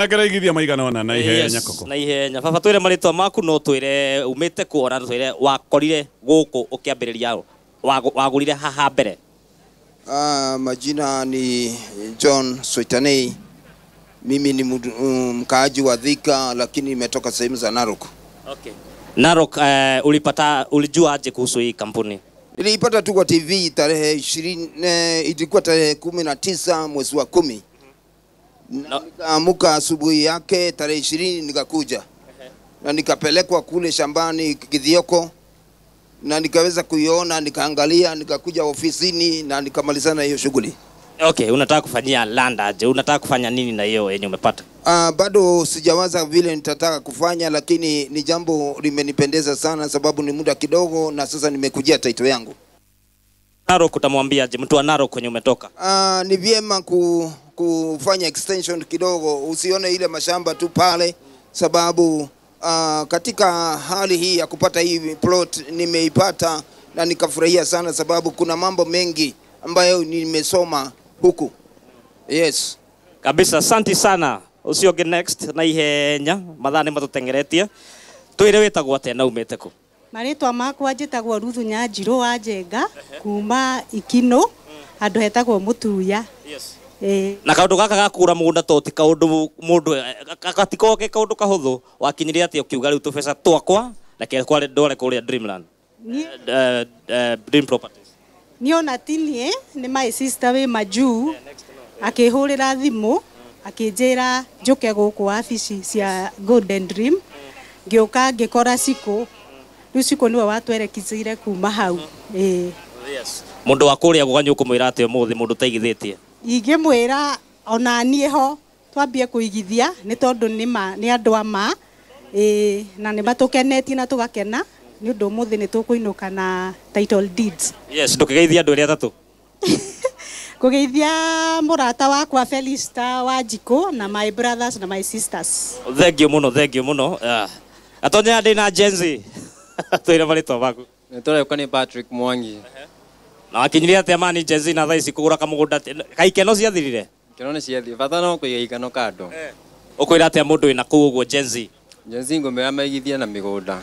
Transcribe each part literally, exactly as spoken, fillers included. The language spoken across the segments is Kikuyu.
Akaraigithia maigana ona na ihenya. Yes, koko. Na ihenya. Baba, twire marĩtwa maku, no twire umĩte kũ, ona twire wakorire gũkũ ũkĩambĩrĩria wagu- wagũrire haha mbere. Ah, majina ni John Soitanei. Mimi ni mdu- mm, mkaaji wa Thika, lakini nimetoka sehemu za Narok. Okay. Narok, eh, ulipata ulijua aje kuhusu hii kampuni? Niliipata tu kwa T V tarehe ishirini, eh, ilikuwa tarehe kumi na tisa mwezi wa kumi na No. nikaamuka asubuhi yake tarehe ishirini nikakuja na nikapelekwa kule shambani Kithioko na nikaweza kuiona, nikaangalia, nikakuja ofisini na nikamalizana hiyo shughuli. Okay, unataka kufanyia land aje? Unataka kufanya nini na hiyo yenye umepata? Uh, bado sijawaza vile nitataka kufanya, lakini ni jambo limenipendeza sana, sababu ni muda kidogo na sasa nimekujia title yangu. Narok utamwambia aje mtu wa Narok kwenye umetoka? Uh, ni vyema ku, kufanya extension kidogo, usione ile mashamba tu pale, sababu uh, katika hali hii ya kupata hii plot nimeipata na nikafurahia sana, sababu kuna mambo mengi ambayo nimesoma huku. Yes. Kabisa, asante sana. Ucio ũngĩ next na ihenya, mathaa nĩ matũtengeretie. Twĩre wĩtagwo atĩa na umĩte kũ? Marĩtwa makwa njĩtagwo Ruthu Nyanjirũ wa Njenga kuma Ikino, handũ hetagwo Mũtuya. Yes. Ĩĩ. Na kaũndũ gaka ga kũgũra mũgũnda to ti kaũndũ mũndũ gatikoragwo ke kaũndũ kahũthũ, wakinyire atĩa ũkiuga rĩu tũbeca twakwa reke kware ndware kũrĩa Dreamland? Niĩ Eh, eh, Dream Properties. Niĩ ona ti niĩ, nĩ my sister wĩ majuu akĩhũrĩra thimũ akĩnjĩra njũke gũkũ wabici cia Golden Dream. Ngĩũka ngĩkora Cikũ, rĩu Cikũ nĩwe watwerekithire kuma hau. Ĩĩ. Yes. Mũndũ wa kũrĩa guka ũkũmwĩra atĩa ũmũthĩ, mũndũ ũtaigithĩtie? Ingĩmwĩra ona niĩ ho twambie kũigithia, nĩ tondũ nĩ ma nĩ andũ a ma, ĩĩ, na nĩ matũkenetie na tũgakena nĩ ũndũ ũmũthĩ nĩ tũkũinũka na title deeds. Yes, ndũkĩgeithia andũ arĩa atatũ. Kũgeithia mũrata wakwa Felista Wanjikũ na my brothers na my sisters. Thank you mũno, thank you mũno. Ah. Atonya ndĩ na Gen Z. Twĩre marĩtwa maku. Nĩtũreka nĩ Patrick Mwangi. Na wakinyire atĩa mani Gen Z na thaa ici kũgũra kamũgũnda kaikeno ciathirire? Ikeno nĩ ciathiĩ, bata no kũiga ikeno kando. Ũkwĩra atĩa mũndũ wĩna kũu ũguo Gen Z? Gen Z ngũmĩra maigithie na mĩgũnda.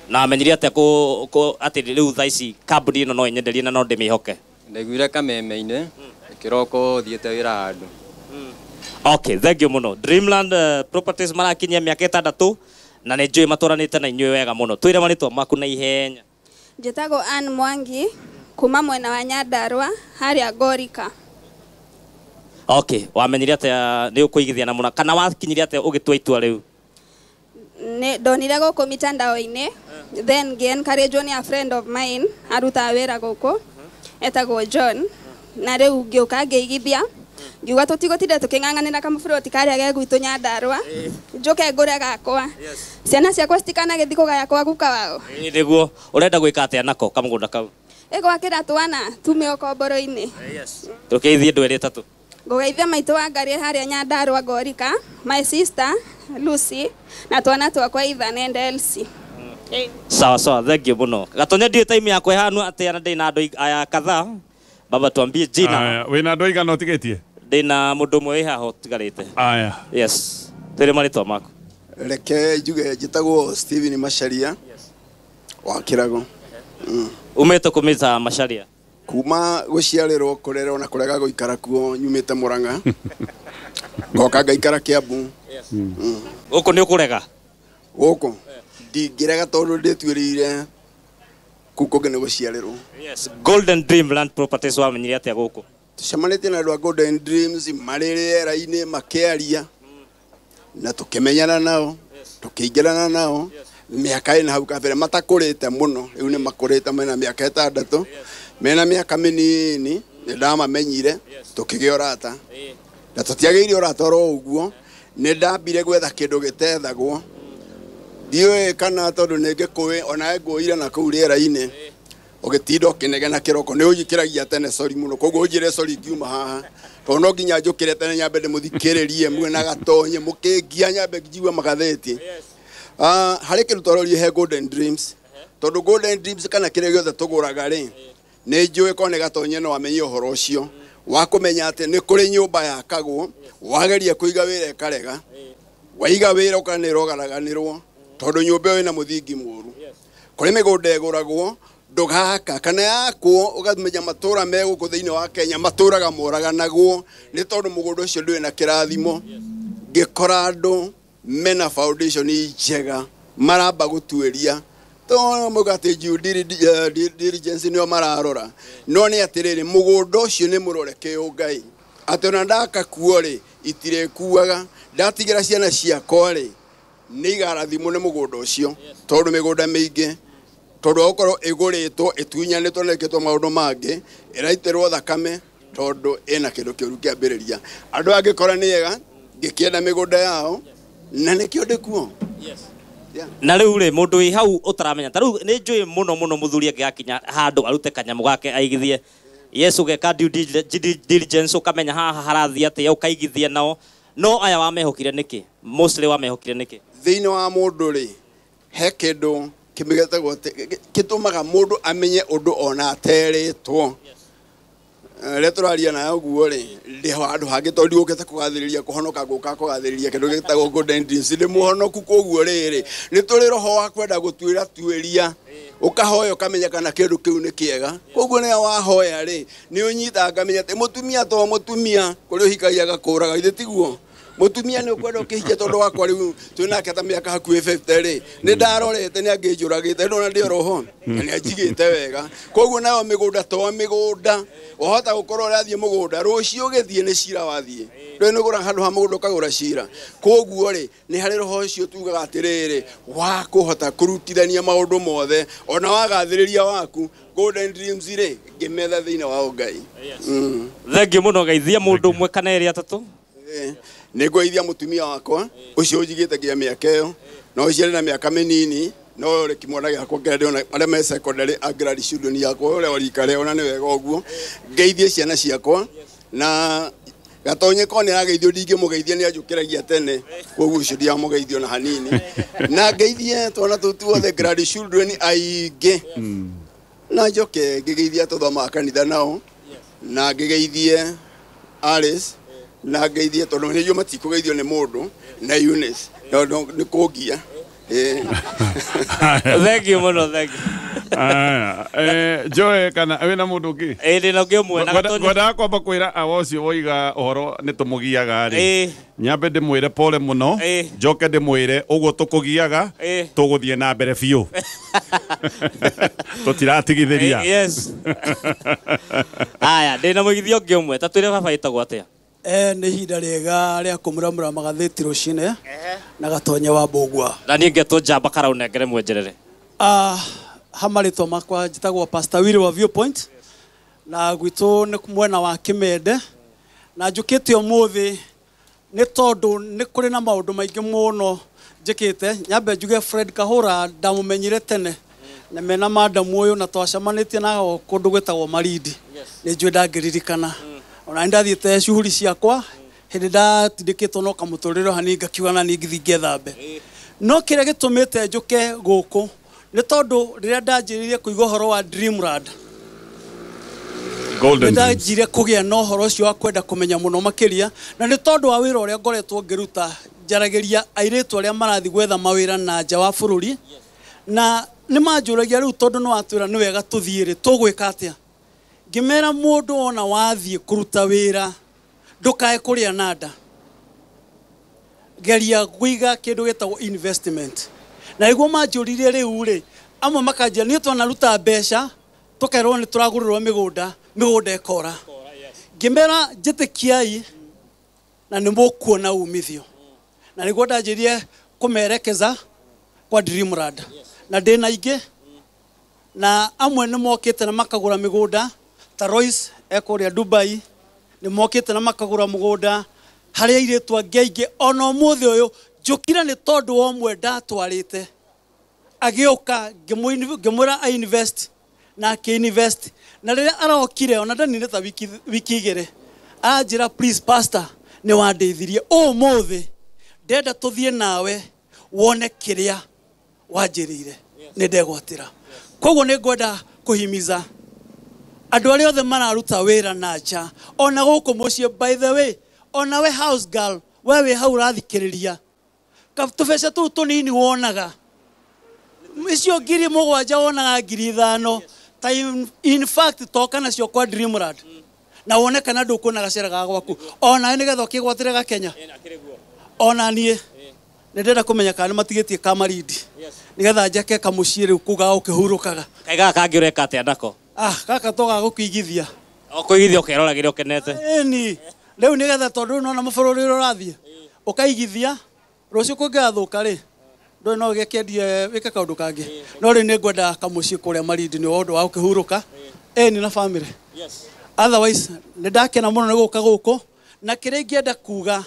Na amenyire atĩa kũ kũ atĩ rĩu thaa ici kambuni ĩno no ĩnyenderie na no ndĩmĩhoke? Ndaiguire kameme-inĩ kĩroko thiĩte wĩra handũ. Okay, thank you mũno. Dreamland uh, Properties marakinyia mĩaka ĩtandatũ na nĩ njũĩ matwaranĩte na inyuĩ wega mũno. Twĩre marĩtwa maku na ihenya. Njĩtagwo Ann Mwangi kuma mwena wa Nyandarua harĩa Ngorika. Okay, wamenyire atĩa nĩ ũkũigithia na mũna kana wakinyire atĩa ũgĩtua itua rĩu? Nĩ ndonire gũkũ mitandao-inĩ, then ngĩ encourage nĩ a friend of mine arutaga wĩra gũkũ etagwo John, na rĩu ngĩũka ngĩigithia, ngiuga tũtigũtinda tũkĩng'ang'anĩra kamũburoti karĩa ge gwitũ Nyandarua, njũke ngũre gakwa, ciana ciakwa citikanagĩthiĩ kũgaya kwa guka wao. Ĩĩ nĩguo, ũrenda gwĩka atĩa nako kamũgũnda kau? Ĩgwakĩra twana tume ũkomboro-inĩ. Tũkĩithie andũ erĩ atatũ. Ngũgeithia maitũ wa Ngarĩ harĩa Nyandarua Ngorika, my sister Lucy na twana twakwa Ethan and Elsie. Sawa sawa, thank you mũno. Gatonya ndiĩ time yakwa ĩhana atĩa na ndĩna andũ aya kadhaa. Baba, tuambie jina. Aya, wĩna andũ aigana ũtigĩtie? Ndĩna mũndũ ũmwe wĩ haha ũtigarĩte. Aya. Yes. Twĩre marĩtwa maku. Reke njuge njĩtagwo Steven Macharia wa Kĩrago. Umĩte kũmĩta Macharia? Kuma gũciarĩrwo, kũrerwo na kũrega gũikara kuo, nyumĩte Mũrang'a ngoka ngaikara Kĩambu. Gũkũ nĩ ũkũrega? Gũkũ ndingĩrega tondũ ndĩtuĩrĩire kũu kũngĩ nĩ gũciarĩrwo. Yes. Golden Dream Land Properties wamenyire atĩa gũkũ? Tũcemanĩtie na andũ a Golden Dreams marĩ rĩera-inĩ makĩaria na tũkĩmenyana nao, tũkĩingĩrana nao mĩaka ĩna hau kabere matakũrĩte mũno. Rĩu nĩ makũrĩte, mena mĩaka ĩtandatũ, mena mĩaka mĩnini nĩ ndamamenyire, tũkĩgĩa ũrata na tũtiagĩire ũrata oro ũguo. Nĩ ndambire gwetha kĩndũ gĩtethagwo, ndiũĩ kana tondũ nĩ ngĩkũĩ onawe ngũire na kũu rĩera-inĩ ũgĩtinda ũkĩnegena kĩroko nĩ ũnjikĩragia tene, sorry mũno, koguo ũnjĩre sorry ngiuma haha tondũ no nginya njũkĩre tene nyambe ndĩmũthikĩrĩrie mwena gatonye mũkĩngia nyambe njigue magathĩti. Ah, harĩ kĩndũ twarorie he Golden Dreams, tondũ Golden Dreams kana kĩrĩa gĩothe tũgũraga rĩ, nĩ njũĩ korwo nĩ gatonye no amenye ũhoro ũcio. Wa kũmenya atĩ nĩ kũrĩ nyũmba yakagwo, wageria kũiga wĩra ĩkarega, waiga wĩra ũkana ĩrogaraganĩrwo tondũ nyũmba ĩyo ĩna mũthingi mũru. Kũrĩ mĩgũnda ĩgũragwo ndũgaka kana yakwo ũkamenya matũra me gũkũ thĩinĩ wa Kenya matũraga moraganagwo nĩ tondũ mũgũnda ũcio ndũrĩ na kĩrathimo. Ngĩkora andũ mena foundation njega maramba gũtuĩria to mũgate due diligence nĩo mararora, no nĩ atĩrĩrĩ mũgũnda ũcio nĩ mũrore kĩũngai atĩ ona ndakakuo rĩ itirĩkuaga, ndatigĩra ciana ciakwa rĩ nĩ igarathimwo nĩ mũgũnda ũcio tondũ mĩgũnda mĩingĩ tondũ wa gũkorwo ĩgũrĩtwo ĩtunyanĩtwo na ĩkĩtwo maũndũ mangĩ ĩraitĩrwo thakame tondũ ĩna kĩndũ kĩũru kĩambĩrĩria. Andũ angĩkora nĩ ega ngĩkĩenda mĩgũnda yao na nĩkĩo ndĩkuo. Na rĩu rĩ mũndũ wĩ hau ũtaramenya ta rĩu nĩ njũĩ mũno mũno mũthuri angĩgakinya handũ arute kanyamũ gake aigithie Yesu geka due diligence ũkamenya haha harathiĩ atĩa ũkaigithia nao, no aya wamehokire nĩkĩ? Mostly wamehokire nĩkĩ? Thĩinĩ wa mũndũ rĩ he kĩndũ kĩmĩgetagwo kĩtũmaga mũndũ amenye ũndũ ona aterĩtwo. Rĩrĩa tũraria nawe ũguo rĩ ndĩ handũ hangĩ tondũ ndigũkĩte kũgathĩrĩria kũhonoka ngũka kũgathĩrĩria kĩndũ gĩtagwo Golden Dreams. Ndĩ mũhonoku koguo rĩrĩ nĩ tũrĩ roho wa kwenda gũtuĩra tuĩria ũkahoya ũkamenya kana kĩndũ kĩu nĩ kĩega. Koguo nĩyo wahoya rĩ nĩ ũnyitaga ngamenya atĩ mũtumia to mũtumia kũrĩ ũhikagia agakũraga, ithe tiguo? Mũtumia nĩ ũkwenda ũkĩhikia tondũ wakwa rĩu twĩnake ta mĩaka hakuhĩ fifty rĩ nĩ ndarorete nĩ angĩnjũragĩte ndona ndĩ oroho na nĩ anjigĩte wega. Koguo nayo mĩgũnda to mĩgũnda wahota gũkorwo ũrathiĩ mũgũnda rũciũ ũgĩthiĩ nĩ cira wathiĩ ndũĩ nĩ ũgũra handũ ha mũgũnda ũkagũra cira. Koguo rĩ nĩ harĩ roho ũcio tugaga atĩrĩrĩ wa kũhota kũrutithania maũndũ mothe ona wagathĩrĩria waku Golden Dreams rĩ ngĩmetha thĩinĩ wa Ngai. Thengiũ mũno geithia mũndũ ũmwe kana erĩ atatũ. Nĩ ngũgeithia mũtumia wakwa ũcio ũnjigĩte nginya mĩaka ĩyo no ũcio arĩ na mĩaka mĩnini no rĩ kĩmwana gĩakwa kĩrĩa ndĩrona arĩa me secondary a grad children yakwa ũrĩa wa rika rĩao na nĩ wega ũguo. Ngeithie ciana ciakwa na gatonye ko nĩ arageithio ndingĩmũgeithia nĩ anjũkĩragia tene koguo ũcio ndiamũgeithio na hanini na ngeithie twana tũu tuothe grad children aingĩ na njoke ngĩgeithia tũthomaga kanitha nao na ngĩgeithie Alice na ngeithie tondũ nĩguo matikũgeithio nĩ mũndũ na Eunice tondũ nĩ kũngia. Thank you mũno, thank you. Eh Joe kana wĩna mũndũ ũngĩ? Ĩĩ ndĩna ũngĩ ũmwe na Gatonye. Ngwendaga kwamba kwĩra awa ũcio woiga ũhoro nĩ tũmũgiaga rĩ nyambe ndĩmwĩre pole mũno njoke ndĩmwĩre ũguo tũkũgiaga tũgũthiĩ na mbere biũ tũtiratigithĩria. Yes. Aya ndĩna mũigithia ũngĩ ũmwe ta twĩre baba ĩtagwo atĩa? Eh nĩ ihinda rĩega rĩa kũmũramũra magathĩti rũcinĩ na Gatonye wa Mbũgua. Na niĩ ngetwo Njamba Karaũ mwenjerere. Ah ha marĩtwa makwa njĩtagwo Pastor Willy wa Viewpoint na gwitũ nĩ mwena wa Kĩmende na njũkĩte ũmũthĩ nĩ tondũ nĩ kũrĩ na maũndũ maingĩ mũno njĩkĩte. Nyambe njuge Fred Kahũra ndamũmenyire tene na mena madam ũyũ na twacemanĩtie nao kũndũ gwĩtagwo Marindi nĩ njũĩ ndangĩririkana ona ndathiĩte shughuli ciakwa hĩndĩ ndatindĩkĩtwo no kamũtũrĩre hanini ngakiuga na niĩ ngĩthiĩ ngethambe. No kĩrĩa gĩtũmĩte njũke gũkũ nĩ tondũ rĩrĩa ndanjĩrĩirie kũigua ũhoro wa Dreamland Golden Dreams ndanjire kũgĩa na ũhoro ũcio wa kwenda kũmenya mũno makĩria na nĩ tondũ wa wĩra ũrĩa ngoretwo ngĩruta njaragĩria airĩtu arĩa marathiĩ gwetha mawĩra na nja wa bũrũri na nĩ manjũragia rĩu tondũ nĩ watwĩra nĩ wega tũthiĩ rĩ tũgwĩka atĩa. Ngĩmera mũndũ ona wathiĩ kũruta wĩra ndũkae kũrĩa na nda, geria kũiga kĩndũ gĩtagwo investment. Na nĩguo manjũririe rĩu rĩ amwe makanjĩra niĩ twanaruta mbeca tũkerwo nĩ tũragũrĩrwo mĩgũnda mĩgũnda ĩkora. Ngĩmera njĩtĩkiai na nĩ mũkuona umithio. Na nĩguo ndanjĩrire kũmerekeza kwa Dreamland na ndĩna ingĩ na amwe nĩ mokĩte na makagũra mĩgũnda ta Royce ekũrĩa Dubai nĩ mokĩte na makagũra mũgũnda harĩ airĩtu angĩ aingĩ ona ũmũthĩ ũyũ njũkire nĩ tondũ wa ũmwe ndatwarĩte agĩũka ngĩmwĩra a invest na akĩ-invest na rĩrĩa arokire ona ndaninĩte ta wiki wiki igĩrĩ anjĩra please pastor nĩ wandeithirie ũmũthĩ ndenda tũthiĩ nawe wone kĩrĩa wanjĩrĩire nĩ ndegwatĩra. Koguo nĩ ngwenda kũhimiza Andũ arĩa othe mararuta wĩra na nja ona gũkũ mũciĩ, by the way, ona we house girl, we wĩ hau ũrathikĩrĩria, tũbeca tũu tũnini wonaga, icio ngiri mũgwanja wonaga ngiri ithano, ta in, in fact toka nacio kwa Dreamland na wone kana ndũkuona gacĩra ga gwaku ona nĩgetha ũkĩgwatĩre gakenya. Ona niĩ nĩ ndĩrenda kũmenya kana nĩ matigĩtie kamarindi nĩgetha njake kamũciĩ rĩu kũu ga gũkĩhurũkaga. Kaĩ gaka kangĩ ũreka atĩa nako? Ah, gaka to ga gũkĩigithia. O kũigithia ũkeroragĩra ũkenete. Ĩni rĩu nĩgetha tondũ nona mabũrũri ũrĩa ũrathiĩ ũkaigithia rũciũ kũngĩgathũka rĩ ndũĩ no ũgĩkĩendie wĩke kaũndũ kangĩ, no rĩu nĩ ngwenda kamũciĩ kũrĩa Malindi nĩ ũndũ wa gũkĩhurũka ĩni na family. Otherwise nĩ ndakena mũno nĩ gũka gũkũ, na kĩrĩa ingĩenda kuga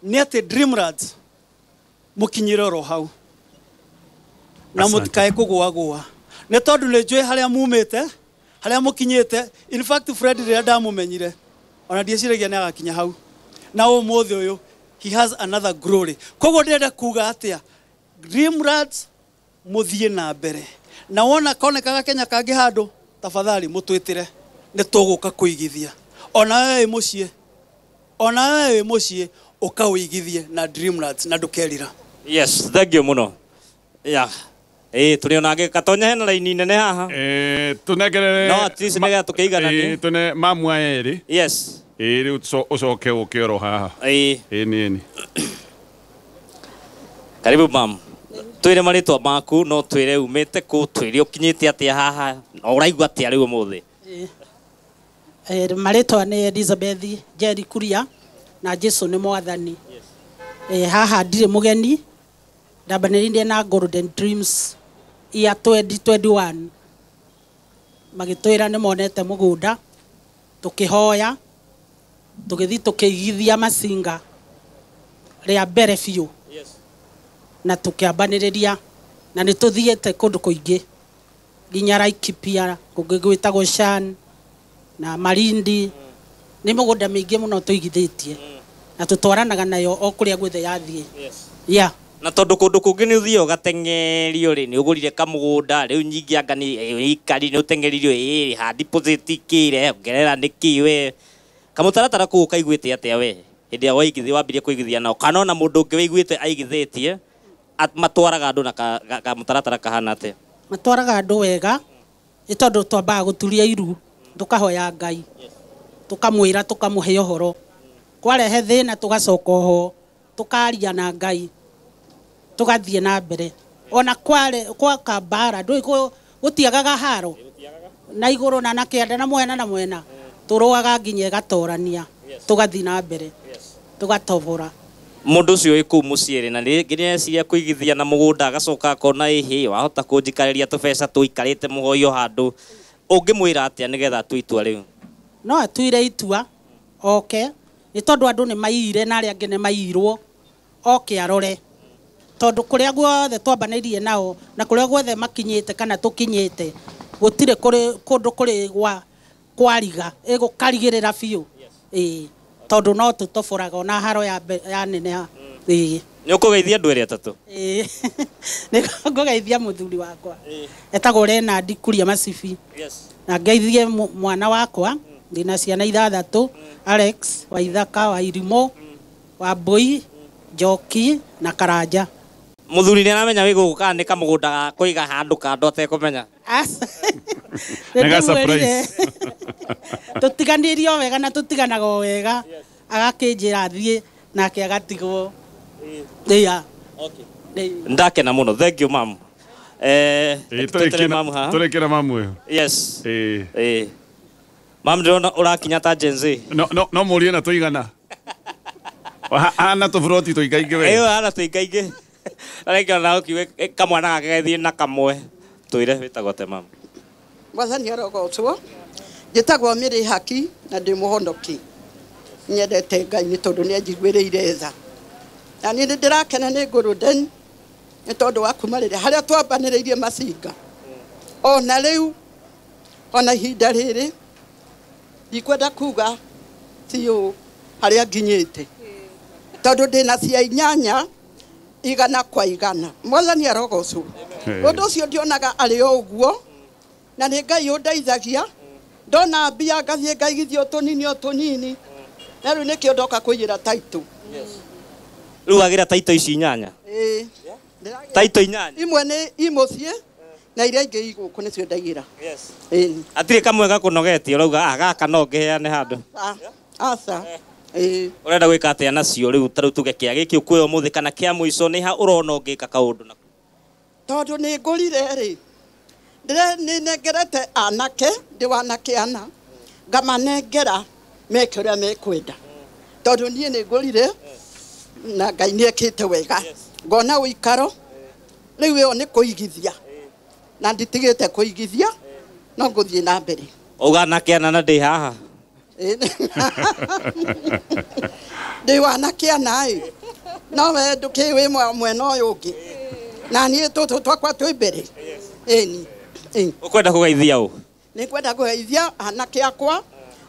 nĩ atĩ Dreamlands mũkinyĩre oro hau na mũtikae kũgũagũa nĩ tondũ nĩ njũĩ harĩa mumĩte, harĩa mũkinyĩte. In fact Fred rĩrĩa ndamũmenyire ona ndieciragia nĩ agakinya hau, na ũmũthĩ ũyũ he has another glory. Koguo ndĩrenda kuga atĩa, Dreamlands mũthiĩ na mbere, na wona konekaga Kenya kangĩ handũ, tafadhali mũtwĩtĩre nĩ tũgũka kũigithia. Ona we wĩ mũciĩ, ona we wĩ mũciĩ ũkawĩigithie na Dreamlands na ndũkerira. Yes, thank you mũno. Yeah. Eh, tũrĩ ona angĩ Gatonya hena raini nene haha. Eh, tũnengerere. No, at least nĩgetha tũkĩigananie. Eh, tũne mamu aya erĩ. Yes. Ĩĩ rĩu ũcoke ũke oro haha. Ĩĩ. Ĩĩ nĩ nĩ. Karibu mam. Twĩre marĩtwa maku, no twĩre umĩte kũ, twĩre ũkinyĩte atĩa haha, na ũraigua atĩa rĩu ũmũthĩ. Eh, marĩtwa nĩ Elizabeth Njeri Kuria na Jesu nĩ mwathani. Eh, haha ndirĩ mũgeni, ndambanĩrĩirie na Golden Dreams year twenty twenty-one, magĩtwĩra nĩ monete mũgũnda, tũkĩhoya, tũgĩthiĩ tũkĩigithia macinga rĩa mbere biũ na tũkĩambanĩrĩria, na nĩ tũthiĩte kũndũ kũingĩ nginya Laikipia, kũngĩ gwĩtagwo Shan na Malindi. Nĩ mĩgũnda mĩingĩ mũno tũigithĩtie na tũtwaranaga nayo o kũrĩa guothe yathiĩ. Yeah. Na tondũ kũndũ kũngĩ nĩ ũthiaga ũgateng'erio rĩ, nĩ ũgũrire kamũgũnda rĩu nyingĩ anga nĩ ikari nĩ ũteng'eririo ĩ ha deposit kĩre ongerera nĩ kĩ we kamũtaratara kũu ũkaiguĩte atĩa we hĩndĩ ĩrĩa waigithia wambirie kũigithia nao, kana ona mũndũ ũngĩ wĩiguĩte aigithĩtie matwaraga andũ na kamũtaratara kahana atĩa? Matwaraga andũ wega nĩ tondũ twambaga gũturia iru, tũkahoya Ngai, tũkamwĩra, tũkamũhe ũhoro, kwarehe thĩna tũgacoka oho, tũkaria na Ngai, tũgathiĩ na mbere. Ona kware gwaka mbara ndũĩ gũtiagaga haro na igũrũ na na kĩanda na mwena na mwena, tũrũaga nginya ĩgatorania, tũgathiĩ na mbere, tũgatobora. Mũndũ ũcio wĩ kũu mũciĩ rĩ, na rĩngĩ nĩareciria kũigithia na mũgũnda agacoka akona ĩhĩ wahota kũnjikarĩria tũbeca tũikarĩte mũhoyo handũ, ũngĩmwĩra atĩa nĩgetha atue itua rĩu? No atuire itua oke, nĩ tondũ andũ nĩ maiyire na arĩa angĩ nĩ maiyirwo, oke arore tondũ kũrĩa guothe twambanĩirie nao na kũrĩa guothe makinyĩte kana tũkinyĩte gũtirĩ kũndũ kũrĩ gwa kwariga ĩgũkarigĩrĩra biũ. Ĩĩ, tondũ no tũtoboraga ona haro ya ya neneha. Ĩĩ. Nĩ ũkũgeithia andũ erĩ atatũ? Ĩĩ. Nĩ ngũgeithia mũthuri wakwa etagwo Leonard Kuria Macibi, na ngeithie mwana wakwa, ndĩna ciana ithathatũ, Alex wa Ithaka, wa Irimũ, wa Mbũi, Njoki na Karanja. Mũthuri nĩ aramenya wĩ gũkũ kana nĩ kamũgũnda ga kũiga handũ kando atekũmenya? Nĩ surprise. Tũtiganĩirio wega na tũtiganaga o wega, agakĩnjĩra thiĩ nake agatigwo. Yeah. Ndakena mũno, thank you mam. Eh, tũrĩ mamu haha. Tũrĩkĩra mamu ĩyo. Yes. Ĩĩ. Ĩĩ. Mam ndĩrona ũrakinya ta Gen Z. No no no mũrie na tũigana. Hana tũburoti tũingaingĩ we. Ĩyo hana tũingaingĩ. Reke ona ũkiuge kamwana gake gathiĩ na kamwe. Twĩre wĩtagwo atĩa mam? Mwathani arogocwo. Njĩtagwo Mĩrĩ Haki na ndĩ mũhonoki. Nyendete Ngai nĩ tondũ nĩ anjiguĩrĩire tha. Na niĩ nĩ ndĩrakena nĩ Golden nĩ tondũ wa kuma rĩrĩa harĩa twambanĩrĩirie macinga. Ona rĩu ona ihinda rĩrĩ ndikwenda kuga ti ũũ harĩa nginyĩte tondũ ndĩna cia inyanya igana kwa igana. Mwathani arogocwo. Ũndũ ũcio ndionaga arĩ o ũguo na nĩ Ngai ũndeithagia Ndona mbia ngathiĩ ngaigithia o tũnini o tũnini. Na rĩu nĩkĩo ndoka kũiyĩra taitũ. Rĩu wagĩra taitũ ici inyanya? Ĩĩ. Taitũ inyanya? Imwe nĩ i mũciĩ na iria ingĩ i gũkũ nĩcio ndaigĩra. Yes. Ĩĩ. Hatirĩ kamwe gakũnogetie ũrauga ah gaka no ngĩheane handũ? Aca. Ĩĩ. Ũrenda gwĩka atĩa nacio rĩu ta rĩu tuge kĩa gĩkĩ ũkuoya ũmũthĩ kana kĩa mũico nĩ ha ũrona ũngĩka kaũndũ nako? Tondũ nĩ ngũrire rĩ, nĩ nengerete anake, ndĩ wanake ana, ngamanengera meke ũrĩa mekwenda. Tondũ niĩ nĩ ngũrire na Ngai nĩ ekĩte wega. Ngona ũikaro, rĩu ĩyo nĩ kũigithia. Na nditigĩte kũigithia, no ngũthiĩ na mbere. Ũga anake ana na ndĩ haha? Ndĩ wanake ana ĩ, no we ndũkĩũĩ wĩ mwena ũyũ ũngĩ. Na niĩ tũtũ twakwa twĩ mbere. Ĩni. Ũkwenda kũgeithia ũ? Nĩ ngwenda kũgeithia anake akwa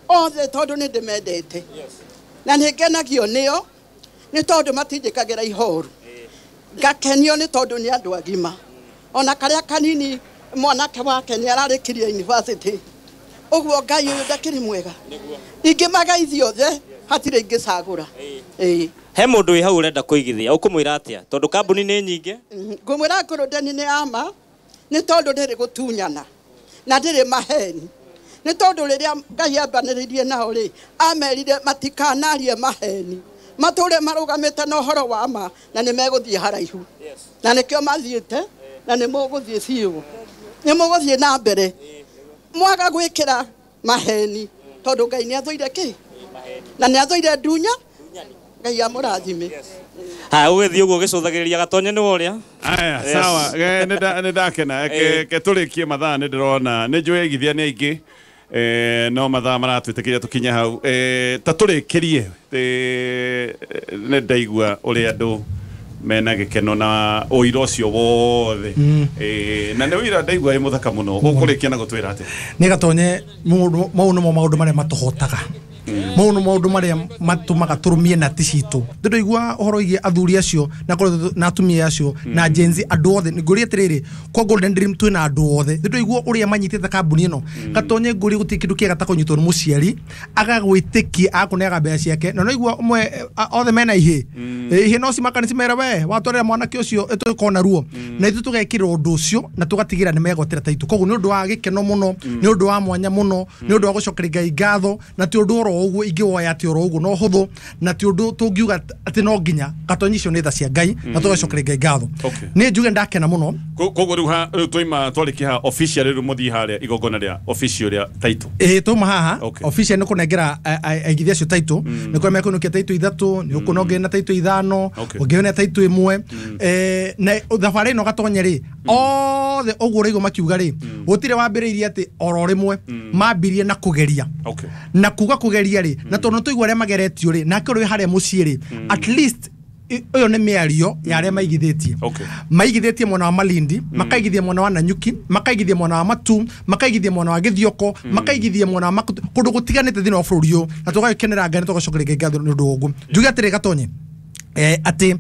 othe tondũ nĩ ndĩmendete. Na nĩ ngenagio nĩo nĩ tondũ matinjĩkagĩra ihoru. Ngakenio nĩ tondũ nĩ andũ agima. Ona karĩa kanini mwanake wake nĩ ararĩkirie university. Ũguo Ngai ũyũ ndakĩrĩ mwega. Ingĩmageithia othe hatirĩ ingĩcagũra. Ĩĩ. He mũndũ wĩ hau ũrenda kũigithia ũkũmwĩra atĩa? Tondũ kambuni nĩ nyingĩ. Ngũmwĩra Golden nĩ ama nĩ tondũ ndĩrĩ gũtunyana na ndĩrĩ maheni. Nĩ tondũ rĩrĩa Ngai ambanĩrĩirie nao rĩ, amerire matikanarie maheni. Matũre marũgamĩte na ũhoro wa ma na nĩ megũthiĩ haraihu. Na nĩkĩo mathiĩte na nĩ mũgũthiĩ biũ. Nĩ mũgũthiĩ na mbere. Mwaga gwĩkĩra maheni tondũ Ngai nĩ athũire kĩ? Na nĩ athũire ndunya. Ngai amũrathime. Ha ũgĩthiĩ ũguo ũgĩcũthagĩrĩria gatonye nĩ ũrĩa? Aya, sawa, nĩ ndakena. Ke tũrĩkie mathaa nĩ ndĩrona nĩ njũĩ aigithia nĩ aingĩ. Eh, no mathaa maratwĩtĩkĩria tũkinye hau. Eh, ta tũrĩkĩrie nĩ ndaigua ũrĩa andũ mena gĩkeno na ũira ũcio wothe. Eh, na nĩ ũira ndaigua wĩ mũthaka mũno. Ũkũrĩkia na gũtwĩra atĩa? Nĩ gatonye mau nĩmo maũndũ marĩa matũhotaga. Mau nĩ maũndũ marĩa matũmaga tũrũmie nati citũ. Ndĩraigua ũhoro wĩgiĩ athuri acio na na atumia acio na Gen Z andũ othe. Ngũria atĩrĩrĩ, kwa Golden Dream twĩna andũ othe. Ndĩraigua ũrĩa manyitĩte kambuni ĩno. Gatonye ngũria gũtirĩ kĩndũ kĩega ta kũnyitwo nĩ mũciari agagwĩtĩkia agakũneaga mbeca ciake. Na naigua ũmwe othe mena ihĩ. Ihĩ no cimakane cimere we watwarĩra mwanake ũcio ĩtũkorwo ruo. Na ithuĩ tũgekĩra ũndũ ũcio na tũgatigĩra nĩ megwatĩra taitũ. Koguo nĩ ũndũ wa gĩkeno mũno, nĩ ũndũ wa mwanya mũno, nĩ ũndũ wa gũcokeria Ngai ngatho, na ti ũndũ oro ũguo ingĩwoya atĩ oro ũguo no hũthũ, na ti ũndũ tũngiuga atĩ no nginya gatonyi icio nĩ tha cia Ngai na tũgacokeria Ngai ngatho. Nĩ njuge ndakena mũno. Koguo rĩu rĩu twaima twarĩkia haha official rĩu mũthiĩ harĩa igongona rĩa official rĩa taitũ. Ĩĩ twauma haha official nĩ kũnengera aigithia acio taitũ, nĩ kũrĩa mekũinũkia taitũ ithatũ, nĩ ũkuona ũngĩ na taitũ ithano, ũngĩ na taitũ ĩmwe. Na thabarĩ ĩno gatonye rĩ othe ũguo ũraigua makiuga rĩ, gũtirĩ wambĩrĩirie atĩ oro rĩmwe, mambirie na kũgeria. Na kuga kũgeria rĩ, na tondũ tũigua arĩa mageretio rĩ, nake ũrĩ harĩa mũciĩ rĩ, at least ũyũ nĩ mĩario ya arĩa maigithĩtie. Maigithĩtie mwena wa Malindi, makaigithia mwena wa Nanyuki, makaigithia mwena wa Matu, makaigithia mwena wa Gĩthioko, makaigithia mwena wa Makutu, kũndũ gũtiganĩte thĩinĩ wa bũrũri ũyũ, na tũgagĩkenera Ngai na tũgacokeria Ngai ngatho nĩ ũndũ wa ũguo. Njuge atĩrĩ gatonye, atĩ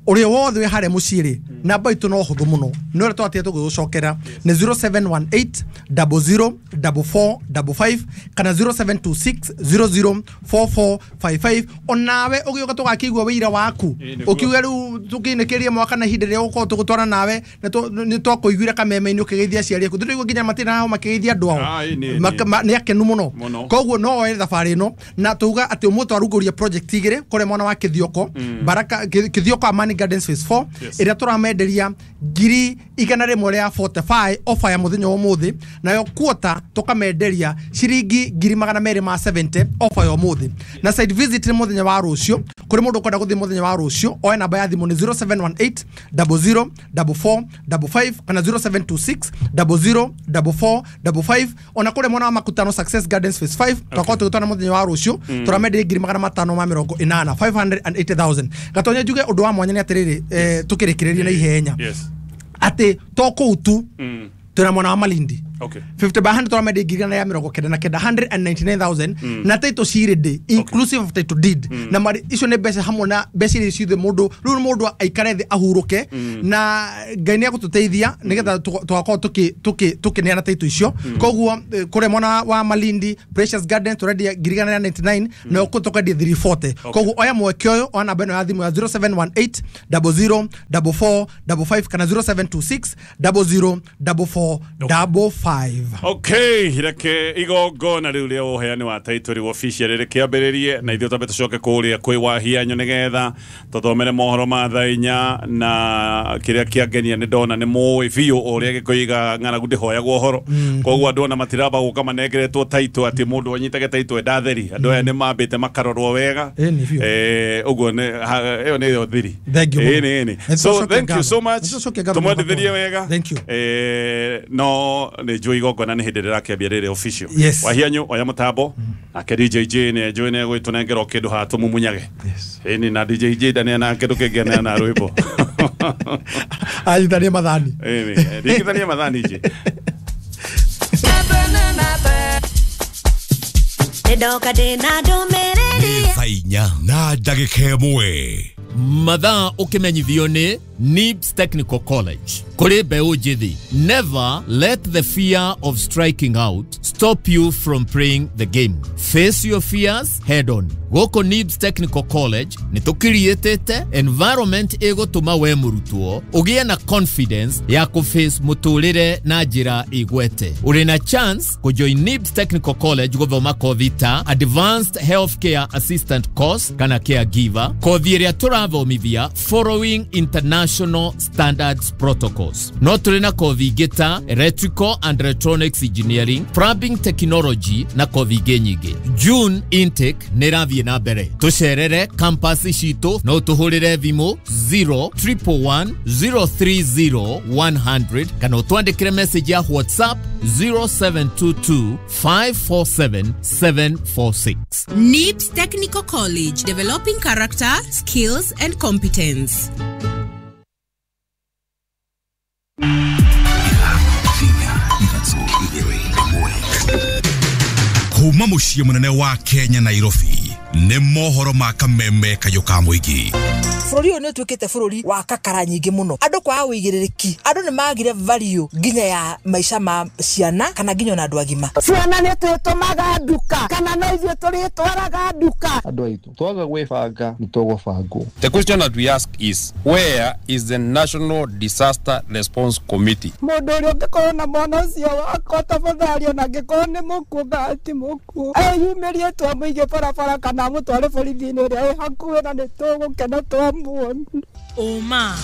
ũrĩa wothe wĩ harĩa mũciĩ rĩ, namba itũ no hũthũ mũno, nĩ ũrĩa twatĩte tũgĩgũcokera nĩ zero seven one eight zero zero four four five five kana zero seven two six zero zero four four five five. Onawe ũgĩũka tũgakĩigua wĩira waku ũkiuga rĩu tũkĩinĩkĩrie mwaka na ihinda rĩrĩa ũgũkorwo tũgũtwara nawe nĩ twakũiguire kameme-inĩ ũkĩgeithia aciari aku. Ndĩraigua nginya matirĩ hau makĩgeithia andũ ao, nĩ akenu mũno. Koguo no oe thabarĩ ĩno na tuuga atĩ ũmũthĩ twarugũria project igĩrĩ kũrĩa mwena wa Kĩthioko, Baraka Kĩthioko Amani Gardens Phase four ĩrĩa tũramenderia ngiri igana rĩmwe rĩa forty-five offer ya mũthenya wa ũmũthĩ, nayo quarter tũkamenderia ciringi ngiri magana merĩ ma seventy offer ya ũmũthĩ. Na site visit nĩ mũthenya wa rũciũ, kũrĩ mũndũ ũkwenda gũthiĩ mũthenya wa rũciũ oe namba ya thimũ nĩ zero seven one eight zero zero four four five five kana zero seven two six zero zero four four five. Ona kũrĩ mwena wa Makutano Success Gardens Phase five twakorwo tũgĩtwara mũthenya wa rũciũ tũramenderia ngiri magana matano ma mĩrongo ĩnana five hundred and eighty thousand. Gatonye njuge ũndũ wa mwanya nĩ atĩrĩrĩ, tũkĩrĩkĩrĩrie na ihenya atĩ to kũu tu twĩna mwena wa Malindi. Okay. fifty by hundred tũramendia ngiri igana rĩa mĩrongo kenda na kenda hundred and ninety-nine thousand na title cirĩ inclusive of title deed na mari icio nĩ mbeca hamwe na mbeca iria ciothe mũndũ rĩu mũndũ aikare thĩ ahurũke na Ngai nĩ egũtũteithia nĩgetha tũgakorwo tũkĩ tũkĩ tũkĩneana title icio. Koguo kũrĩa mwena wa Malindi Precious Garden tũrendia ngiri igana rĩa ninety-nine na ũkũ tũkendia three forty. Koguo oya mweke ũyũ oya namba ĩno ya thimũ ya zero seven one eight double zero double four double five kana zero seven two six double zero double four double five. Okay, reke igongona rĩu rĩa ũheani wa title rĩu official rĩkĩambĩrĩrie na ithuĩ twambe tũcoke kũrĩa kwĩ Wahianyo nĩgetha tũthomere mohoro ma thaa inya na kĩrĩa kĩangenia nĩ ndona nĩ mũĩ biũ ũrĩa gĩkũiga ng'aragu ndĩhoyagwo ũhoro. Koguo andũ ona matiramba gũka manengeretwo title atĩ mũndũ anyitage title enda theri andũ aya nĩ mambĩte makarorwo wega eh ũguo nĩ ĩyo nĩyo thiri. Ĩĩ nĩ so thank you so much tũmwendithĩrie wega. Thank you. Eh no nĩ njũĩ igongona nĩ hĩndĩ rĩrakĩambia rĩrĩ official. Wahianyo oya mũtambo nake D J J nĩ njũĩ nĩ egũgĩtũnengera o kĩndũ haha tũmumunyage. Ĩĩ na D J J ndaneana kĩndũ kĩngĩ aneana rwĩmbo anyitanie mathani. Ĩĩ ringithanie mathani J. Ndoka ndĩna ndũmĩrĩri thaa inya na ndagĩka ĩmwe. Mathaa ũkĩmenyithio nĩ Nibs Technical College kũrĩ mbeũ njĩthĩ. Never let the fear of striking out stop you from playing the game. Face your fears head on. Gũkũ Nibs Technical College nĩ tũkiriĩtĩte environment ĩgũtũma we mũrutwo ũgĩe na confidence ya kũface mũtũrĩre na njĩra ĩgwete. Ũrĩ na chance kũjoin Nibs Technical College gũthoma kothi ta Advanced Healthcare Assistant Course kana Caregiver, kothi ĩrĩa tũrathomithia following international standards protocols. No tũrĩ na kothi ingĩ ta Electrical and Electronics Engineering, Plumbing Technology na kothi ingĩ nyingĩ. June intake nĩ ĩrathiĩ na mbere. Tũcerere campus citũ no tũhũrĩre thimũ zero triple one zero three zero one hundred kana ũtwandĩkĩre message ya WhatsApp zero seven two two five four seven seven four six. Nibs Technical College, developing character, skills and competence. Kuma muciĩ mũnene wa Kenya Nairobi nĩ mohoro ma kameme kayũ ka mũingĩ. Bũrũri ũyũ nĩ ũtuĩkĩte bũrũri wa kakara nyingĩ mũno. Andũ kwaga ũigĩrĩrĩki, andũ nĩ magire value nginya ya maica ma ciana kana nginya ona andũ agima. Ciana nĩ twĩtũmaga nduka kana no ithuĩ tũrĩtwaraga nduka. Andũ aitũ twaga gwĩbanga nĩ tũgũbangwo. The question that we ask is, where is the National Disaster Response Committee? Mũndũ ũrĩa ũngĩkorwo na mwana ũcio wakwa tafadhali ona angĩkorwo nĩ mũkuũ kana ti mũkuũ eyumĩrie twamũige barabara kana amũtware borithi-inĩ ĩrĩa ĩ hakuhĩ na nĩ tũgũkena twamuona. Ũma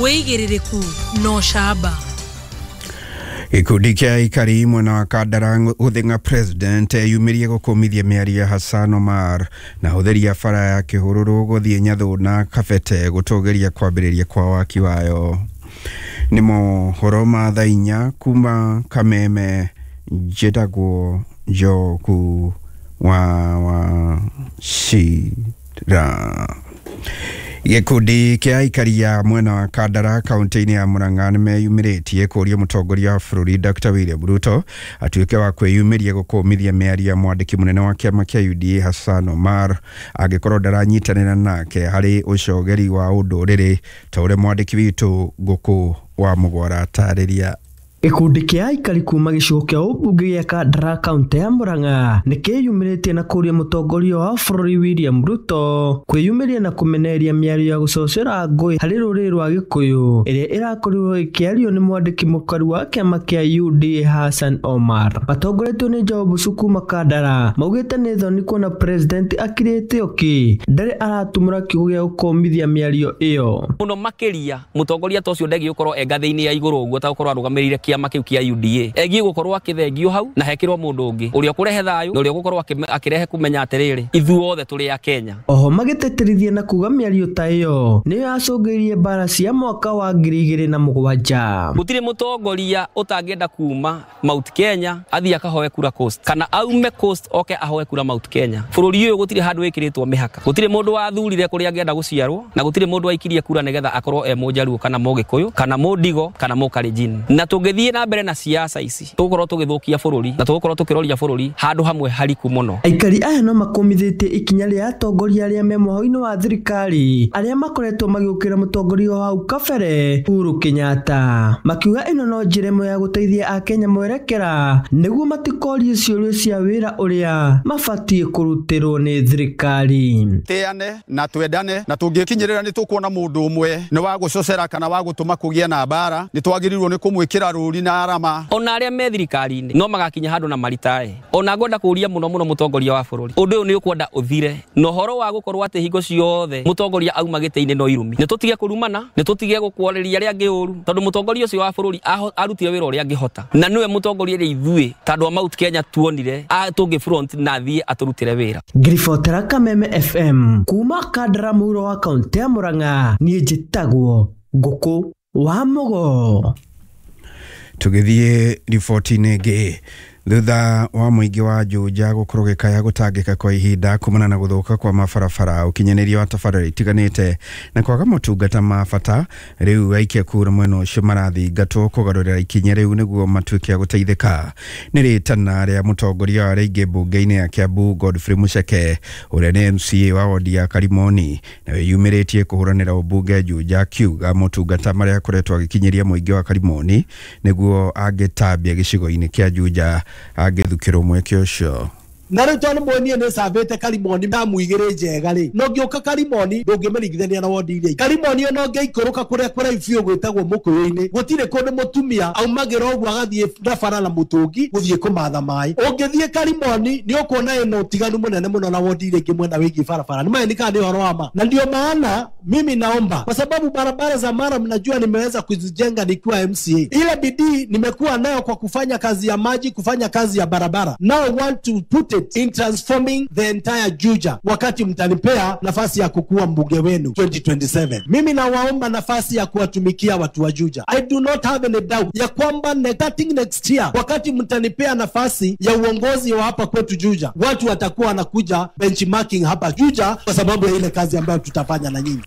wĩigĩrĩrĩku no camba. Gĩkundi kĩa aikari mwena wa Kandara gũthĩng'a president eyumĩrie gũkũmithia mĩario ya Hassan Omar na hũthĩri ya bara ya Kĩhũrũrũ gũthiĩ Nyathũ na Kabete gũtũgĩria kwambĩrĩria kwa waki wayo. Nĩ mohoro ma thaa inya kuma Kameme. Njĩtagwo Njogu wa Wachira. Gĩkundi kĩa aikari ya mwena wa Kandara kaunti-inĩ ya Murang'a nĩmeyumĩrĩtie kũria mũtongoria wa bũrũri Dr William Ruto atuĩke wa kwĩyumĩria gũkũmithia mĩario ya mwandĩki mũnene wa kĩama kĩa U D A Hassan Omar angĩkorwo ndaranyitanĩra nake harĩ ũcogeri wa ũndũrĩrĩ ta ũrĩa mwandĩki witũ Ngũkũ wa Mũgwara atarĩria. Gĩkundi kĩa aikari kuma gĩcigo kĩa ũmbunge gĩa Kandara kaunti ya Murang'a nĩkĩyumĩrĩtie na kũria mũtongoria wa bũrũri William Ruto kwĩyumĩria na kũmenereria mĩario ya gũcocera ngũĩ harĩ rũrĩrĩ rwa Gĩkũyũ ĩrĩa ĩrakorirwo ĩkĩario nĩ mwandĩki mũkaru wa kĩama kĩa U D A Hassan Omar. Matongoretio nĩ Job Sukuma Kandara maugĩte nĩ thoni kuona president akirĩte ũkĩ ndarĩ aratumũra kiugo gĩa gũkũmithia mĩario ĩyo. Mũno makĩria mũtongoria ta ũcio ndegiĩ gũkorwo e ngathĩ-inĩ ya igũrũ ũguo ta gũkorwo arũgamĩrĩire kĩama kĩu kĩa U D A egiĩ gũkorwo akĩthengio hau na hekĩrwo mũndũ ũngĩ ũrĩa ũkũrehe thayũ na ũrĩa ũgũkorwo akĩrehe kũmenya atĩrĩrĩ ithuothe tũrĩ a Kenya. Oho magĩtĩtĩrithia na kuga mĩario ta ĩyo nĩyo yacũngĩrĩirie mbara cia mwaka wa ngiri igĩrĩ na mũgwanja. Gũtirĩ mũtongoria ũtangĩenda kuma Mount Kenya athiĩ akahoe kura Coast kana aume Coast oke ahoe kura Mount Kenya. Bũrũri ũyũ gũtirĩ handũ wĩkĩrĩtwo mĩhaka, gũtirĩ mũndũ wathurire kũrĩa angĩenda gũciarwo na gũtirĩ mũndũ waikirie kura nĩgetha akorwo e mũnjaruo kana mũgĩkũyũ kana mũndigo kana mũkalenjin. Na tũngĩthiĩ Tũngĩthiĩ na mbere na siasa ici tũgũkorwo tũgĩthũkia bũrũri na tũgũkorwo tũkĩroria bũrũri handũ hamwe hariku mũno. Aikari aya no makomithĩtie ikinya rĩa atongoria arĩa me mwaho-inĩ wa thirikari arĩa makoretwo magĩũkĩra mũtongoria wa hau kabere Uhuru Kenyatta, makiuga ĩno no njĩra ĩmwe ya gũteithia Akenya mwerekera nĩguo matikorie ciũria cia wĩra ũrĩa mabatiĩ kũrutĩrwo nĩ thirikari. Teane na twendane na tũngĩkinyĩrĩra nĩ tũkuona mũndũ ũmwe nĩ wa gũcocera kana wa gũtũma kũgĩe na mbara, nĩ twagĩrĩirwo nĩ kũmwĩkĩra rũri na arama. Ona arĩa me thirikari-inĩ no magakinya handũ na maritae. Ona ngwenda kũria mũno mũno mũtongoria wa bũrũri, ũndũ ũyũ nĩ ũkwenda ũthire na ũhoro wa gũkorwo atĩ hingo ciothe mũtongoria auma gĩtĩ-inĩ no irumi. Nĩ tũtige kũrumana, nĩ tũtige gũkwarĩria arĩa angĩ ũru, tondũ mũtongoria ũcio wa bũrũri arutire wĩra ũrĩa angĩhota, na nĩwe mũtongoria ũrĩa ithuĩ ta andũ a Mount Kenya tuonire tũngĩ front na athiĩ atũrutĩre wĩra. Ngiribotera Kameme F M kuma Kandara mũhuro wa kaunti ya Murang'a, niĩ njĩtagwo Ngũkũ wa Mũgo. Tũgĩthiĩ riboti-inĩ ĩngĩ, thutha wa mũingĩ wa Juja gũkorwo gĩkaya gũtangĩka kwa ihinda kumana na gũthũka kwa mabarabara, ũkinyanĩria wa tabarĩra itiganĩte na kwaga motungata ma bata, rĩu aikia kura mwena ũcio marathingatwo kũgarũrĩra ikinya rĩu nĩguo matuĩke a gũteithĩka. Nĩ rĩtana rĩa mũtongoria wa arĩa aingĩ mbunge-inĩ ya Kiambu Godfrey Mucheke ũrĩa nĩ M C A wa wodi ya Karimoni na wĩyumĩrĩtie kũhũranĩra ũmbunge Juja, akiuga motungata marĩa akoretwo agĩkinyĩria mũingĩ wa Karimoni nĩguo angĩtambia gĩcigo-inĩ kĩa Juja angĩthukĩrwo mweke ũcio. Na rĩu tondũ mwenie nĩ cambĩte Karimoni damu igĩrĩ njega rĩ, no ngĩũka Karimoni ndũngĩmĩringithania na wondi iria ingĩ. Karimoni ona ũngĩikũrũka kũrĩa kũraihu biũ gwĩtagwo Mũkũyũ-inĩ, gũtirĩ kũndũ mũtumia aumagĩra ũguo agathiĩ na bara na mũtũngi gũthiĩ kũmatha maĩ. Ũngĩthiĩ Karimoni nĩ ũkuona ĩno ũtiganu mũnene mũno na wondi iria ingĩ mwena wĩgiĩ barabara. Nĩ maĩ kana nĩ ũhoro wa ma. Na ndio maana mimi naomba, kwa sababu barabara za Mara mnajua nimeweza kuzijenga nikiwa M C A. Ile bidii nimekuwa nayo kwa kufanya kazi ya maji, kufanya kazi ya barabara. Now I want to put it in transforming the entire Juja wakati mtanipea nafasi ya kukuwa mbunge wenu twenty twenty-seven. Mimi nawaomba nafasi ya kuwatumikia watu wa Juja. I do not have any doubt ya kwamba starting next year wakati mtanipea nafasi ya uongozi wa hapa kwetu Juja, watu watakuwa wanakuja benchmarking hapa Juja kwa sababu ya ile kazi ambayo tutafanya na nyinyi.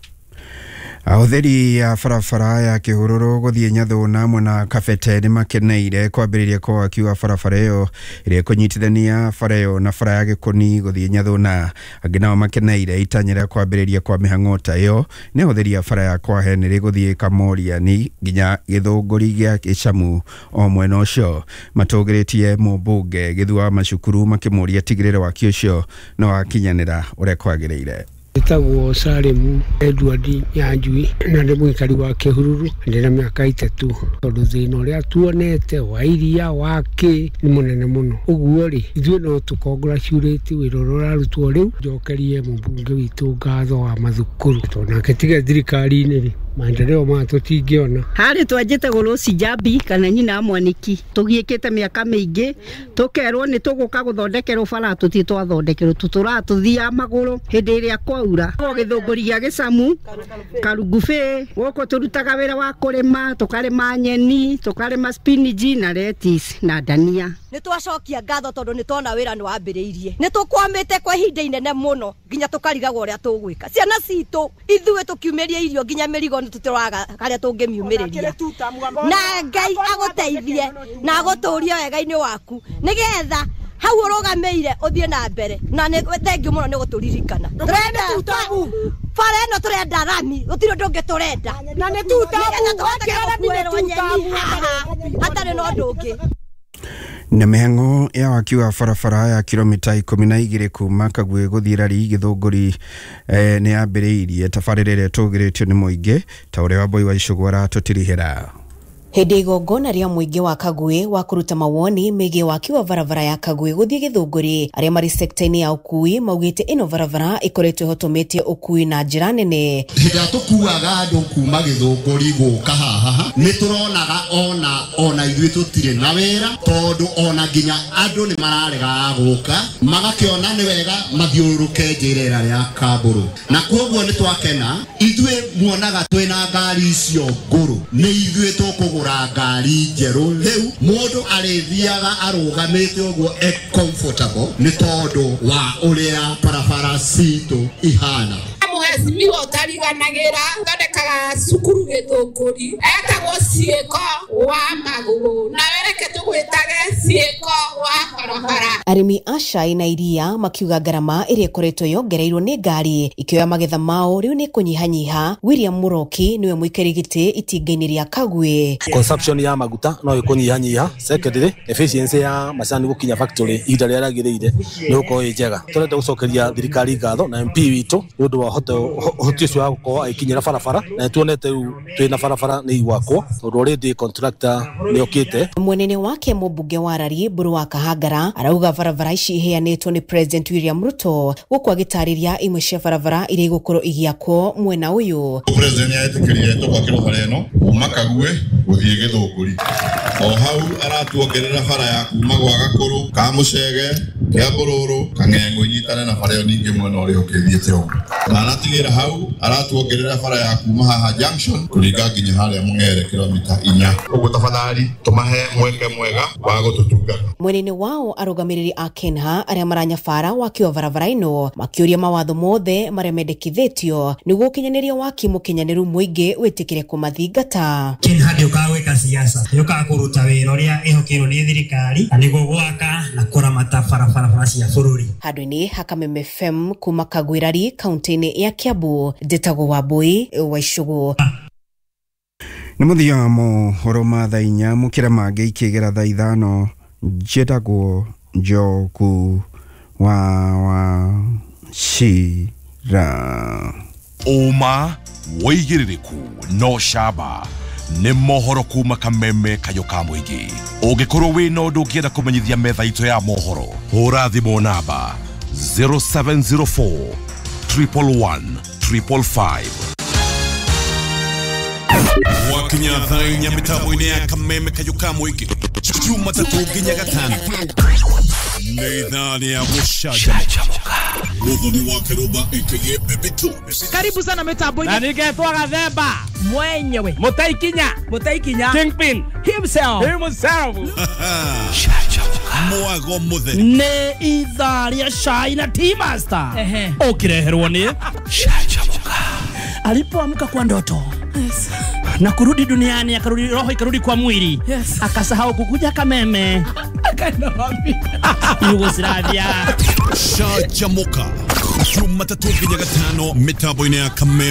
Ahũthĩri a barabara ya Kĩhurũrũ gũthiĩ Nyathũna mwena Kabete nĩ makeneire kwambĩrĩria kwa waki wa barabara ĩyo ĩrĩa ĩkũnyitithania bara ĩyo na bara ya Gĩkũni gũthiĩ Nyathũna. Angĩ nao makeneire itanya rĩa kwambĩrĩria kwa mĩhang'o ta ĩyo nĩ ahũthĩri a bara ya Kwahenĩrĩ gũthiĩ Kamoriani nginya Gĩthũngũri gĩa Gĩcamu o mwena ũcio. Matũgĩrĩtie mũmbunge Gĩthua wa Macukuru makĩmũria tigĩrĩre waki ũcio no wakinyanĩra ũrĩa kwagĩrĩire. Njĩtagwo Salemu Edward Nyanjui na ndĩ mũikari wa Kĩhururu, ndĩ na mĩaka ĩtatũ, tondũ thĩna ũrĩa tuonete wa iria wa kĩ nĩ mũnene mũno. Ũguo rĩ, ithuĩ no tũ congratulate wĩra ũrĩa ũrarutwo rĩu. Njokerie mũmbunge witũ ngatho wa mathukuru, tondũ nake tiga thirikari-inĩ rĩ, maendeleo maya tũtingĩona. Harĩ twanjĩtagwo Rose Njambi kana nyina wa Mwaniki, tũgiĩkĩte mĩaka mĩingĩ tũkerwo nĩ tũgũka gũthondekerwo bara, tũtirĩ twathondekerwo, tũtũraga tũthiaga magũrũ hĩndĩ ĩrĩa kwaura. Gĩthũngũri gĩa Gĩcamu, Karungubĩ, gũkũ tũrutaga wĩra wa kũrĩma, tũkarĩma nyeni, tũkarĩma spinach na lettuce na ndania. Nĩ twacokia ngatho tondũ nĩ twona wĩra nĩ wambĩrĩirie. Nĩ tũkwamĩte kwa ihinda inene mũno nginya tũkarigagwo ũrĩa tũgwĩka. Ciana citũ ithuĩ tũkiumĩria irio nginya mĩrigo nĩ tũtĩroraga harĩa tũngĩmiumĩrĩria. Na Ngai agũteithie na agũtũrie wega-inĩ waku nĩgetha hau ũrũgamĩire ũthiĩ na mbere. Na nĩ thengiũ mũno nĩ gũtũririkana. Tũrenda bara ĩno, tũrenda rami, gũtirĩ ũndũ ũngĩ tũrenda. Na nĩ tutabu, gũkuĩrwo nyeni haha hatarĩ na ũndũ ũngĩ. Na mĩhang'o ya waki wa barabara ya kilomita ikũmi na igĩrĩ kuma Kagwĩ gũthiĩ Rari Gĩthũngũri eh, nĩ yambĩrĩirie tabarĩra ĩrĩa ĩtũgĩrĩtio nĩ mũingĩ ta ũrĩa Wambui wa Icũgũ aratũtirihĩra. Hĩndĩ igongona rĩa mũingĩ wa Kagwĩ wa kũruta mawoni megiĩ waki wa barabara ya Kagwĩ gũthiĩ Gĩthũngũri, arĩa marĩ sekta-inĩ ya ũkui maugĩte ĩno barabara ĩkoretwo ĩhotometie ũkui na njĩra nene. Hĩndĩ ĩrĩa tũkuaga andũ kuma Gĩthũngũri gũka haha nĩ tũronaga ona ona ithuĩ tũtirĩ na wĩra, tondũ ona nginya andũ nĩ mararegaga gũka magakĩona nĩ wega mathiũrũrũke njĩra ĩrĩa ya Kambũrũ, na koguo nĩ twakena. Ithuĩ muonaga twĩna ngari icio ngũrũ, nĩ ithuĩ tũkũgũra ngari njerũ. Rĩu mũndũ arĩthiaga arũgamĩte ũguo e comfortable nĩ tondũ wa ũrĩa barabara citũ ihana. Mũhecimiwa ũtariganagĩra thondekaga cukuru Gĩthũngũri etagwo Ciĩko wa Magũrũ nawe reke tũgwĩtage Ciĩko wa barabara. Arĩmi a cai na iria makiuga ngarama ĩrĩa ĩkoretwo yongereirwo nĩ ngari ikĩoya magetha mao rĩu nĩ kũnyihanyiha. William Muroki nĩwe mũikarĩri gĩtĩ itinga-inĩ rĩa Kagwe. Consumption ya maguta no ĩkũnyihanyiha. Secondly, efficiency ya macani gũkinya factory ihinda rĩrĩa rĩagĩrĩire nĩ gũkorwo ĩ njega. Tũrenda gũcokeria thirikari ngatho na M P witũ nĩ ũndũ wa ũhoti ũcio wa gũkorwo agĩkinyĩra barabara, na nĩtuonete rĩu twĩna barabara nĩ igwakwo tondũ already contractor nĩ okĩte. Mwenene wake mũmbunge wa Rari Mburu wa Kahangara arauga barabara ici iheanĩtwo nĩ President William Ruto gũkũ agĩtarĩria imwe cia barabara iria igũkorwo igĩakwo mwena ũyũ. President nĩetĩkĩrire tũgwakĩrwo bara ĩno kuma Kagwe gũthiĩ Gĩthũngũri, o hau aratuongerera bara ya kuma gwa Gakũrũ ka Mũcege Kĩambũrũrũ Kang'eng'u inyitane na bara ĩyo ningĩ mwena ũrĩa ũkĩthiĩte ũguo. Na aratigĩra hau aratuongerera bara ya kuma haha junction kũringa nginya harĩa Mũng'ere kilomita inya. Ũguo tafadhali tũmahe mweke mwega wa gũtũtungata. Mwenene wao arũgamĩrĩri a Kenha arĩa maranyabara waki wa barabara ĩno makĩũria mawatho mothe marĩa mendekithĩtio nĩguo ũkinyanĩria waki mũkinyanĩru mũingĩ wĩtĩkĩre kũmathingata. Kenha ndĩũkaga gwĩka siasa, yũkaga kũruta wĩra ũrĩa ĩhokeirwo nĩ thirikari na nĩguo gwaka na kũramata barabara cia bũrũri. Handũ-inĩ ha Kameme F M kuma Kagwirari kaunti-inĩ ya Kiambu, njĩtagwo Wambui wa Icũgũ. Nĩ mũthia wa mohoro ma thaa inya mũkĩra mangĩ ikĩgera thaa ithano. Njĩtagwo Njoku wa Wachira. Ũma wĩigĩrĩrĩku no camba nĩ mohoro kuma Kameme kayũ ka mũingĩ. Ũngĩkorwo wĩna ũndũ ũngĩenda kũmenyithia metha itũ ya mohoro, hũra thimũ namba zero seven zero four triple one triple five. Wakinya thaa inya mĩtambo-inĩ ya Kameme kayũ ka mũingĩ Jumatatũ nginya Gatano nĩ ithaa rĩa gũcanjamũka. Muthoni wa Kĩrũmba aka Baby Tunes. Karibu sana mitambo-inĩ. Na ningetwo Gathemba mwenyewe, Mũtaikinya, Mũtaikinya Kingpin himself, himself. Mwago mũtheri nĩ ithaa rĩa cai na Tea Master ũkĩreherwo nĩ Canjamũka. Alipoamka kwa ndoto, yes, na kurudi duniani, akarudi roho ikarudi kwa mwili, yes, akasahau kukuja Kameme, akaenda wapi? Yugoslavia. Canjamũka Jumatatũ nginya Gatano mĩtambo-inĩ ya Kameme.